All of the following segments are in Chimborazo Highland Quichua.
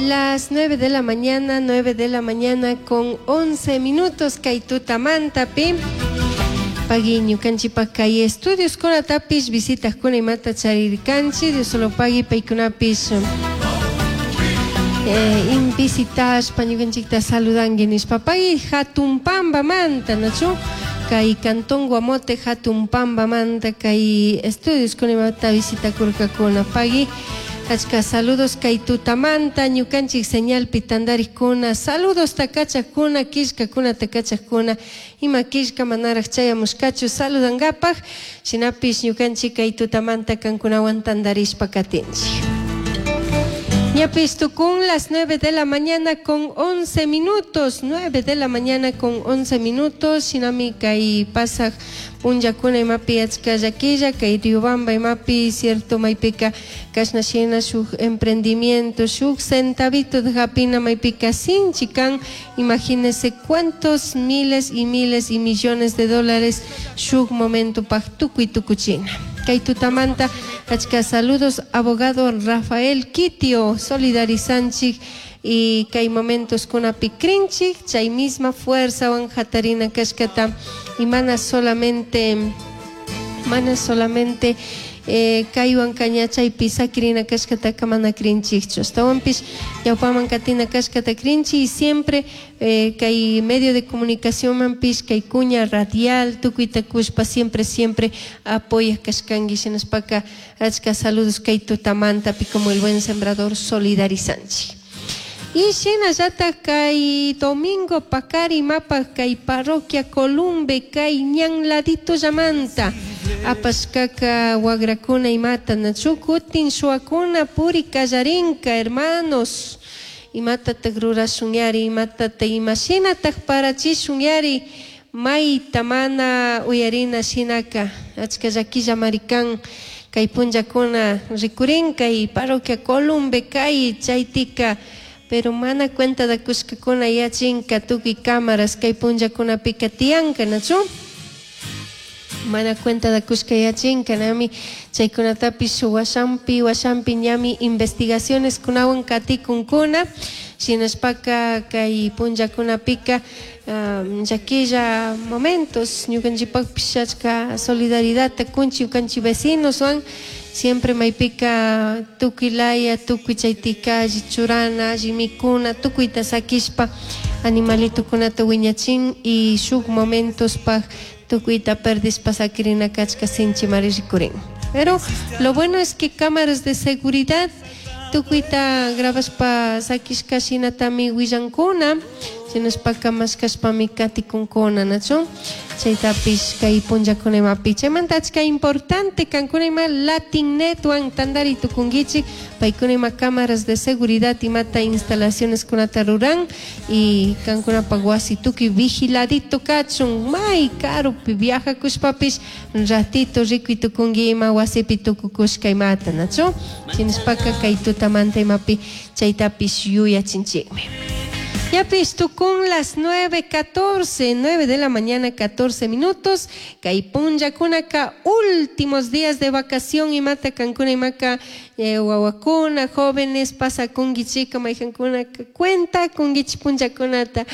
Las 9 de la mañana, 9 de la mañana con 11 minutos kay tutamantapi. Pagui ñukanchikpak kay estudios kunatapish visitakuna imata charirkanchik Dios solo pagui paykunapish eh, in visitashpa ñukanchikta saludanki nishpa pagui hatun pambamanta nachu kay cantón Guamote hatun pambamanta kay estudios kuna imata visitakurkakuna pagui Achka saludos kay tutamanta ñukanchik señalpi tandarikkuna saludos takachakuna killkakuna takachakuna ima killka manaraj chayamushkachu saludankapak shinapish ñukanchik kay tutamanta kankunawan tandarishpa katinchik. Ñapish tukun las 9 de la mañana con 11 minutos, 9 de la mañana con 11 minutos, shinami kay pasaj punllakuna imapi achka llaquilla kay Riobamba imapi cierto maypika kashna shina shuk emprendimiento shuk centavito de hapina maypika sinchi kan imagínese cuántos miles y miles y millones de dólares shuk momento paj tukuy tukuchina. Kay tutamanta achka saludos abogado Rafael Kitio solidarizanchik y kay momentos kunapi krinchik chay misma fuerza wan hatarina kashkata y mana solamente kaywan kaña chaypi sakirina kashkataka mana krinchikchu ashtawanpish ñawpaman katina kashkata krinchik y siempre kay medio de comunicación manpish kay kuña radial tukuyta kushpa siempre siempre apoyaj kashkanki shinashpaka achka saludos kay tutamantapi como el buen sembrador solidarizanchik. Y shinallatak kay domingo pakari mapa kay parroquia Columbe kay ñan ladito llamanta apashkaka wagrakuna imata nachu kutin shuakuna puri kallarinka hermanos imatatak rurashunyari imatata imashinatak parachishunyari mayta mana uyarina shinaka achka llaquilla marikan kay punllakuna rikurin kay parroquia Columbe kay chaytika pero mana cuenta da kushkakuna yachinka tukuy cámaras kay punllakunapika tiyanka nachu mana cuenta da kushka yachinka nami chaykunatapish washampi washampi ñami investigaciones kunawan katikunkuna shinashpaka kay punllakunapika llaquilla momentos ñukanchikpakpish achka solidaridadta kunchik ñukanchik vecinos wan siempre maypika tukuy laya tukuy chaytika alli churana alli mikuna tukuyta sakishpa animalitukunata wiñachin y shuk momentospaj tukuyta perdishpa sakirina kachka sinchimari rikurin. Pero lo bueno es que cámaras de seguridad tukuyta grabashpa sakishka shinatami willankuna shinashpaka mashkashpami katikunkuna nachu chaytapish kay punllakuna imapi chaymanta achka importante kankuna ima Latin Netwan tandari tukunkichik paykuna ima cámaras de seguridad imata instalaciones kunata ruran y kankunapak wasi tukuy vigiladito kachun may karupi viajakushpapish ratito rikuy tukunki ima wasipi tukukushka imata nachu shinashpaka kay tutamanta imapi chaytapish yuyachinchikmi. Yapis tukun las 9:14, 9 de la mañana 14 minutos. Kay punllakunaka últimos días de vacación imata kankuna imaka wawakuna, jóvenes pasakunkichika mayjankunaka cuenta kunkichik punllakunata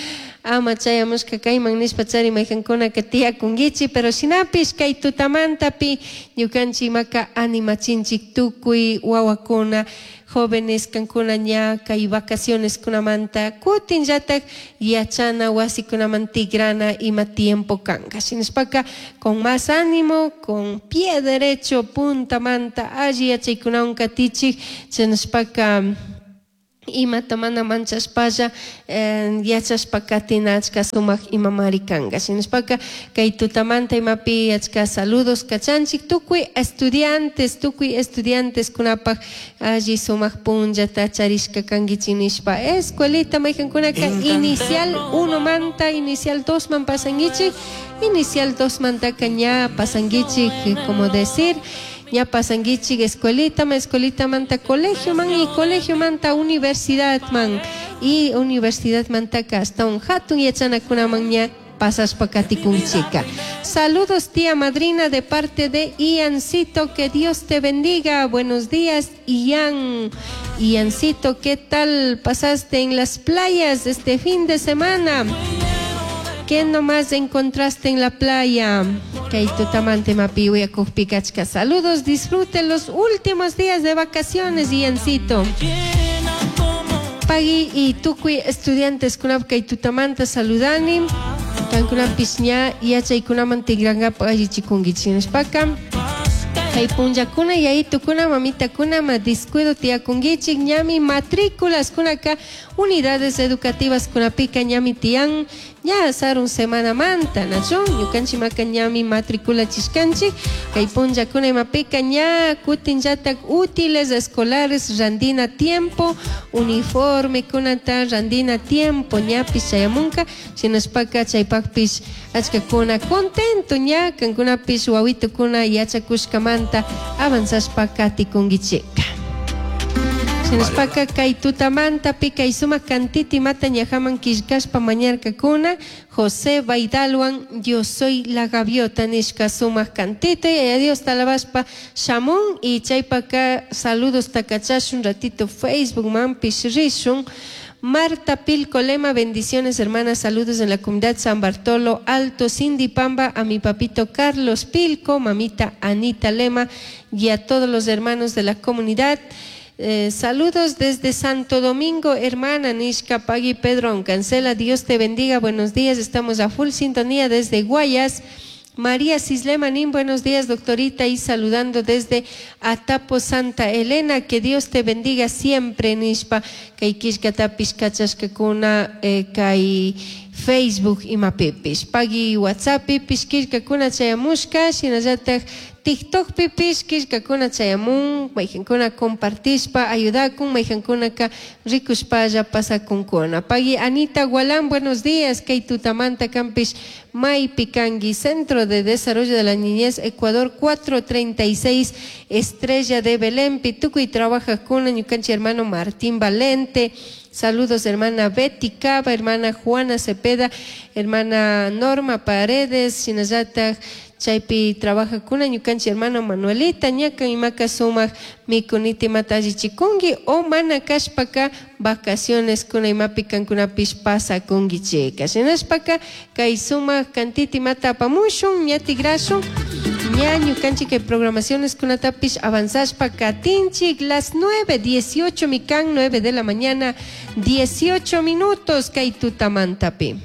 ama chayamushka kayman nishpa chari mayjankunaka tiyakunkichik pero shinapish kay tutamantapi ñukanchik imaka animachinchik tukuy wawakuna jóvenes kankuna ña kay vacaciones kunamanta kutinllatak yachana wasikunaman tigrana ima tiempo kanka shinashpaka con más ánimo con pie derecho puntamanta alli yachaykunawan katichik shinashpaka imata mana manchashpalla yachashpa katina achka sumak imamari kanka shinashpaka kay tutamanta imapi achka saludos kachanchik tukuy estudiantes kunapak alli sumak punllata charishka kankichik nishpa escuelita mayjankunaka inicial 1 manta inicial 2 man pasankichik inicial 2 mantaka ña pasankichik como decir ya pasankichik escuelita ma escuelita manta colegio man y colegio manta universidad man y universidad mantaka hasta un hatun yachanakunaman ña pasashpa katikunchika. Saludos tía madrina de parte de Iancito, que Dios te bendiga. Buenos días, Ian. Iancito, ¿qué tal pasaste en las playas este fin de semana? ¿Qué nomás encontraste en la playa? Kay tutamanta imapi uyakujpi kachka. Saludos, disfruten los últimos días de vacaciones, Iancito. Pagui y tukuy estudiantes kunap kay tutamanta saludani. Kankunapish ña yachaykunaman tikrankapa allichikunkichik nishpaka. Kay punllakuna yayitukuna mamitakuna ma descuido tiyakunkichik ñami matrículas kunaka unidades educativas kunapika ñami tiyan ña sarun semanamanta nachu ñukanchikmaka ñami matriculachishkanchik kay punllakuna imapika ña kutinllatak útiles escolares randina tiempo uniforme kunata randina tiempo ñapish chayamunka shinashpaka chaypakpish achkakuna contento ña kankunapish wawitukuna yachakushkamanta avanzashpa katikunkichika. Shinashpaka kay tutamanta kay sumak kantita imata ñajaman killkashpa mañarkakuna José Baidalwan Yo soy la gaviota nishka sumak kantita y Dios alabashpa shamun y chaypaka saludos takachashun ratito Facebook manpish rishun. Marta Pilco Lema, bendiciones hermanas, saludos en la comunidad San Bartolo Alto, Cindy Pamba, a mi papito Carlos Pilco, mamita Anita Lema y a todos los hermanos de la comunidad. Saludos desde Santo Domingo, hermana Nishka Pagui Pedro Cancela, Dios te bendiga, buenos días, estamos a full sintonía desde Guayas. María Cislemanín, buenos días, doctorita, y saludando desde Atapo, Santa Elena, que Dios te bendiga siempre, Nishpa, kay killkatapish kachashkakuna, kay Facebook imapipish, pagui WhatsApp pipish killkakuna chayamushka, shinallatak TikTok pipish killkakuna chayamun, mayjankuna compartishpa ayudakun, mayjankunaka rikushpalla pasakunkuna. Pagui Anita Gualán, buenos días, kay tutamanta kampish maypi kanki, Centro de Desarrollo de la Niñez, Ecuador 436, Estrella de Belén, tukuy trabajajkuna, ñukanchik hermano Martín Valente. Saludos, hermana Betty Cava, hermana Juana Cepeda, hermana Norma Paredes, shinallatak chaypi trabajajkuna ñukanchik hermano Manuelita, ñakan imaka sumak mikunita imata allichikunki o mana kashpaka vacaciones kuna imapi kankunapish pasakunkichika. Shinashpaka kay sumak kantita imata apamushun, ña tigrashun, ña ñukanchik kay programaciones kunatapish avanzashpa katinchik las 9:18 mikan, 9 de la mañana, 18 minutos kay tutamantapi.